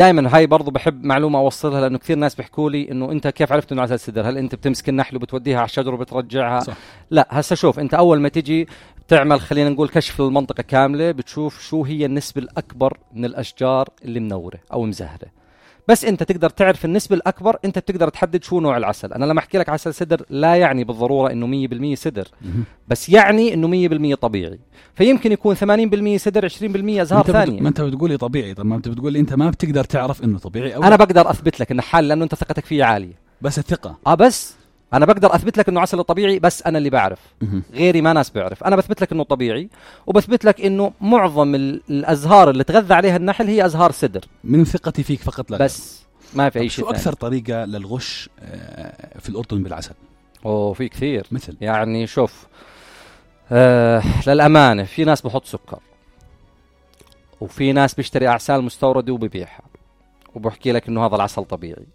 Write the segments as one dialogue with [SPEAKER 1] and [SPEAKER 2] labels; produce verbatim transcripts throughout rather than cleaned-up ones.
[SPEAKER 1] دائما هاي برضو بحب معلومة أوصلها، لأنه كثير ناس بيحكوا لي إنه أنت كيف عرفت إنه عسل سدر؟ هل أنت بتمسك النحل وبتوديها على الشجر وبترجعها؟
[SPEAKER 2] صح.
[SPEAKER 1] لا، هسا شوف، أنت أول ما تجي بتعمل خلينا نقول كشف للمنطقة كاملة، بتشوف شو هي النسبة الأكبر من الأشجار اللي منورة أو مزهرة. بس أنت تقدر تعرف النسبة الأكبر، أنت بتقدر تحدد شو نوع العسل. أنا لما أحكي لك عسل سدر لا يعني بالضرورة إنه مية بالمية سدر، بس يعني إنه مية بالمية طبيعي. فيمكن يكون ثمانين بالمية سدر، عشرين بالمية أزهار ثانية.
[SPEAKER 2] ما أنت بتقولي طبيعي، طب ما أنت بتقولي أنت ما بتقدر تعرف إنه طبيعي أو
[SPEAKER 1] أنا بقدر أثبت لك إنه حال، لأنه أنت ثقتك فيه عالية.
[SPEAKER 2] بس الثقة
[SPEAKER 1] آه بس أنا بقدر أثبت لك إنه عسل طبيعي، بس أنا اللي بعرف، غيري ما ناس بيعرف. أنا بثبت لك إنه طبيعي، وبثبت لك إنه معظم الأزهار اللي تغذى عليها النحل هي أزهار سدر
[SPEAKER 2] من ثقتي فيك فقط، لا
[SPEAKER 1] بس ما في أي شيء.
[SPEAKER 2] شو أكثر طريقة للغش في الأردن بالعسل؟
[SPEAKER 1] أوه في كثير.
[SPEAKER 2] مثل
[SPEAKER 1] يعني شوف، آه للأمانة في ناس بحط سكر، وفي ناس بيشتري أعسال مستوردة وببيعها وبحكي لك إنه هذا العسل طبيعي،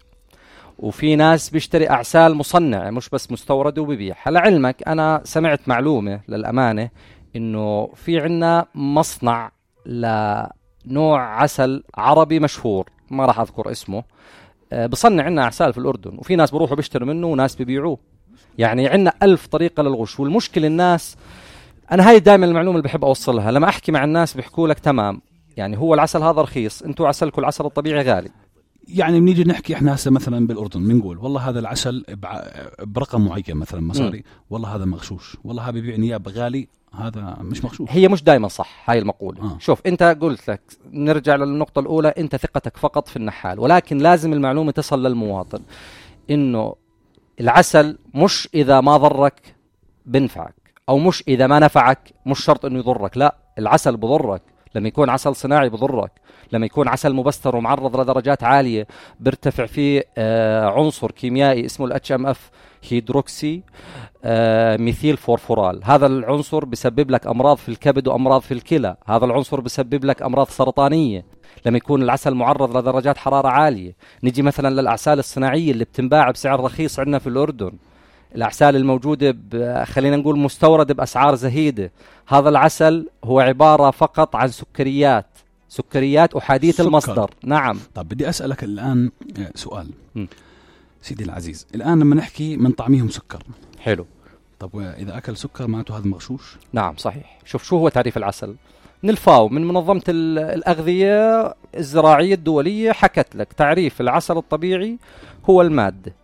[SPEAKER 1] وفي ناس بيشتري أعسال مصنعة مش بس مستوردة وببيعها. لعلمك أنا سمعت معلومة للأمانة إنه في عنا مصنع لنوع عسل عربي مشهور ما راح أذكر اسمه، أه بصنع عنا أعسال في الأردن، وفي ناس بروحوا بيشتروا منه وناس بيبيعوه. يعني عنا ألف طريقة للغش. والمشكلة الناس، أنا هاي دائما المعلومة اللي بحب أوصلها لما أحكي مع الناس، بيحكوا لك تمام يعني هو العسل هذا رخيص، أنتوا عسلكم العسل الطبيعي غالي.
[SPEAKER 2] يعني بنيجي نحكي احنا هسه مثلا بالاردن بنقول والله هذا العسل برقم معين مثلا مصاري، والله هذا مغشوش، والله هذا بيبيع نياب غالي، هذا مش مغشوش.
[SPEAKER 1] هي مش دائما صح هاي المقولة. آه. شوف انت قلت لك نرجع للنقطة الاولى، انت ثقتك فقط في النحال، ولكن لازم المعلومة تصل للمواطن انه العسل مش اذا ما ضرك بنفعك، او مش اذا ما نفعك مش شرط انه يضرك. لا، العسل بضرك لما يكون عسل صناعي، بضرك لما يكون عسل مبستر ومعرض لدرجات عالية بيرتفع فيه آه عنصر كيميائي اسمه الاتش ام اف هيدروكسي آه ميثيل فورفورال. هذا العنصر بيسبب لك أمراض في الكبد وأمراض في الكلى. هذا العنصر بيسبب لك أمراض سرطانية لما يكون العسل معرض لدرجات حرارة عالية. نجي مثلا للأعسال الصناعية اللي بتنباع بسعر رخيص عندنا في الأردن، الأعسال الموجودة خلينا نقول مستورد بأسعار زهيدة. هذا العسل هو عبارة فقط عن سكريات، سكريات أحادية
[SPEAKER 2] سكر.
[SPEAKER 1] المصدر. نعم.
[SPEAKER 2] طب بدي أسألك الآن سؤال م. سيدي العزيز، الآن لما نحكي من طعميهم سكر،
[SPEAKER 1] حلو،
[SPEAKER 2] طب إذا أكل سكر معناته هذا مغشوش؟
[SPEAKER 1] نعم صحيح. شوف شو هو تعريف العسل من الفاو، من منظمة الأغذية الزراعية الدولية، حكت لك تعريف العسل الطبيعي هو المادة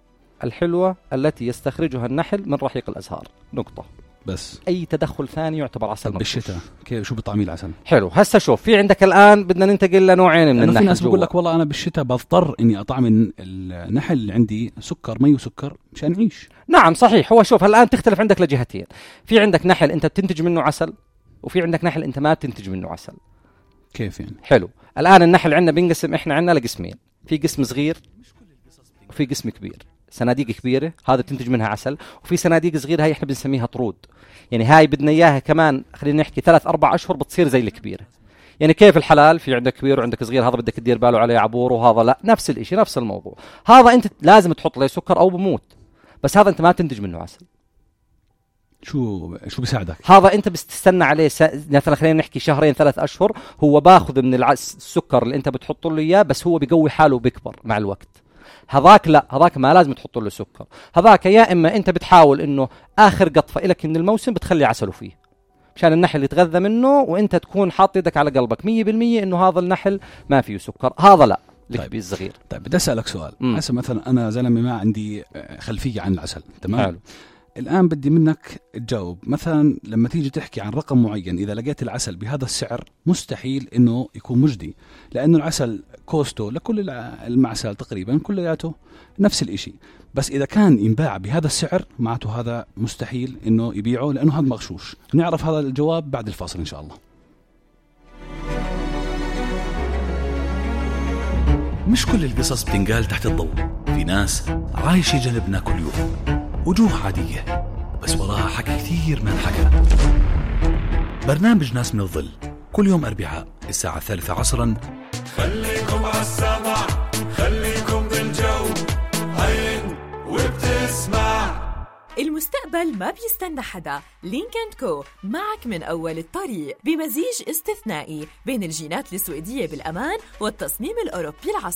[SPEAKER 1] الحلوة التي يستخرجها النحل من رحيق الأزهار، نقطة.
[SPEAKER 2] بس
[SPEAKER 1] أي تدخل ثاني يعتبر عسل مغشوش.
[SPEAKER 2] بالشتاء كيف شو بطعمي العسل؟
[SPEAKER 1] حلو. هسه شوف، في عندك الآن بدنا ننتقل لنوعين من النحل.
[SPEAKER 2] في ناس بقول لك والله أنا بالشتاء بضطر إني أطعم النحل اللي عندي سكر، مي وسكر مشان أعيش.
[SPEAKER 1] نعم صحيح. هو شوف الآن تختلف عندك لجهتين، في عندك نحل أنت بتنتج منه عسل، وفي عندك نحل أنت ما بتنتج منه عسل.
[SPEAKER 2] كيف يعني؟
[SPEAKER 1] حلو. الآن النحل عندنا بينقسم إحنا عندنا لقسمين، في قسم صغير وفي قسم كبير. صناديق كبيرة هذا بتنتج منها عسل، وفي صناديق صغيرة هاي إحنا بنسميها طرود. يعني هاي بدنا إياها كمان خلينا نحكي ثلاث أربع أشهر بتصير زي الكبيرة. يعني كيف الحلال، في عندك كبير وعندك صغير، هذا بدك تدير باله عليه عبور، وهذا لا، نفس الإشي نفس الموضوع. هذا أنت لازم تحط له سكر أو بموت، بس هذا أنت ما تنتج منه عسل.
[SPEAKER 2] شو شو بيساعدك؟
[SPEAKER 1] هذا أنت بتستنى عليه س... مثلا خلينا نحكي شهرين ثلاث أشهر، هو باخذ من العس... السكر اللي أنت بتحط له إياه، بس هو بيقوي حاله وبيكبر مع الوقت. هذاك لا، هذاك ما لازم تحط له سكر. هذاك يا إما أنت بتحاول إنه آخر قطفة إلك من الموسم بتخلي عسله فيه مشان النحل يتغذى منه، وأنت تكون حاط يدك على قلبك مية بالمية إنه هذا النحل ما فيه سكر. هذا لا، الكبير الصغير.
[SPEAKER 2] طيب بدي أسألك سؤال. هسه مثلا أنا زلمة ما عندي خلفية عن العسل، تمام؟ حلو. الآن بدي منك تجاوب، مثلا لما تيجي تحكي عن رقم معين، إذا لقيت العسل بهذا السعر مستحيل إنه يكون مجدي، لأنه العسل كوستو لكل المعسل تقريبا كلياته نفس الإشي، بس إذا كان ينباع بهذا السعر معناته هذا مستحيل إنه يبيعه لأنه هذا مغشوش. نعرف هذا الجواب بعد الفاصل إن شاء الله.
[SPEAKER 3] مش كل القصص بتنقال تحت الضوء، في ناس عايشة جنبنا كل يوم، وجوه عادية بس وراها حكي كثير ما انحكى. برنامج ناس من الظل كل يوم أربعاء الساعة الثالثة عصرا.
[SPEAKER 4] خليكم عالسمع، خليكم بالجو، عين وبتسمع.
[SPEAKER 5] المستقبل ما بيستنى حدا. لينك اند كو معك من أول الطريق، بمزيج استثنائي بين الجينات السويدية بالأمان والتصميم الأوروبي العصري.